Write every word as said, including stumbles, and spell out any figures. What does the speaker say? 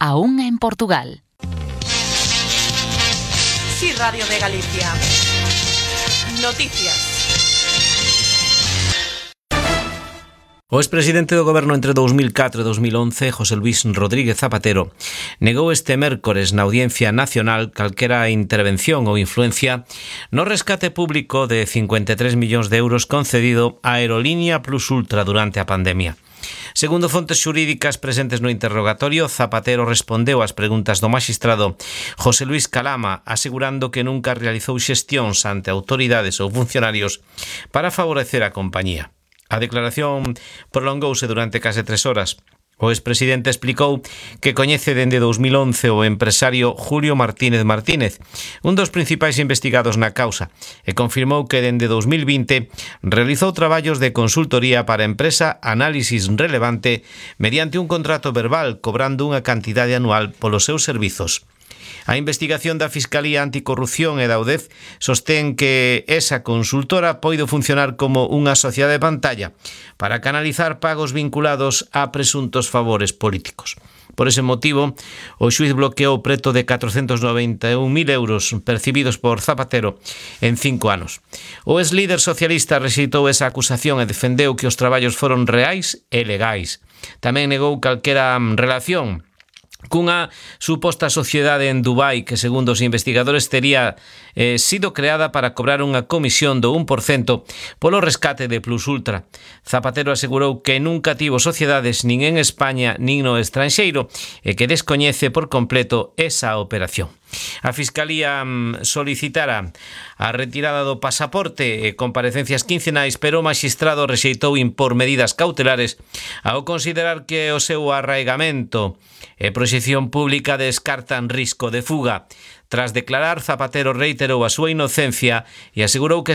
a unha en Portugal. Sí, Radio de Galicia. Noticias. O expresidente do Goberno entre dous mil catro e dous mil once, José Luis Rodríguez Zapatero, negou este mércores na Audiencia Nacional calquera intervención ou influencia no rescate público de cincuenta e tres millóns de euros concedido á Aerolínea Plus Ultra durante a pandemia. Segundo fontes xurídicas presentes no interrogatorio, Zapatero respondeu ás preguntas do maxistrado José Luis Calama, asegurando que nunca realizou xestións ante autoridades ou funcionarios para favorecer a compañía. A declaración prolongouse durante case tres horas. O expresidente explicou que coñece dende dous mil once o empresario Julio Martínez Martínez, un dos principais investigados na causa, e confirmou que dende dous mil vinte realizou traballos de consultoría para a empresa Análisis Relevante mediante un contrato verbal cobrando unha cantidade anual polos seus servizos. A investigación da Fiscalía Anticorrupción e da U D E F sostén que esa consultora poido funcionar como unha sociedade de pantalla para canalizar pagos vinculados a presuntos favores políticos. Por ese motivo, o xuíz bloqueou preto de catrocentos noventa e un mil euros percibidos por Zapatero en cinco anos. O ex-líder socialista rexeitou esa acusación e defendeu que os traballos foron reais e legais. Tamén negou calquera relación cunha suposta sociedade en Dubai que, segundo os investigadores, tería eh, sido creada para cobrar unha comisión do un por cento polo rescate de Plus Ultra. Zapatero asegurou que nunca tivo sociedades nin en España nin no estranxeiro e que descoñece por completo esa operación. A Fiscalía solicitara a retirada do pasaporte e comparecencias quincenais, pero o maxistrado rexeitou impor medidas cautelares ao considerar que o seu arraigamento e proxección pública descartan risco de fuga. Tras declarar, Zapatero reiterou a súa inocencia e asegurou que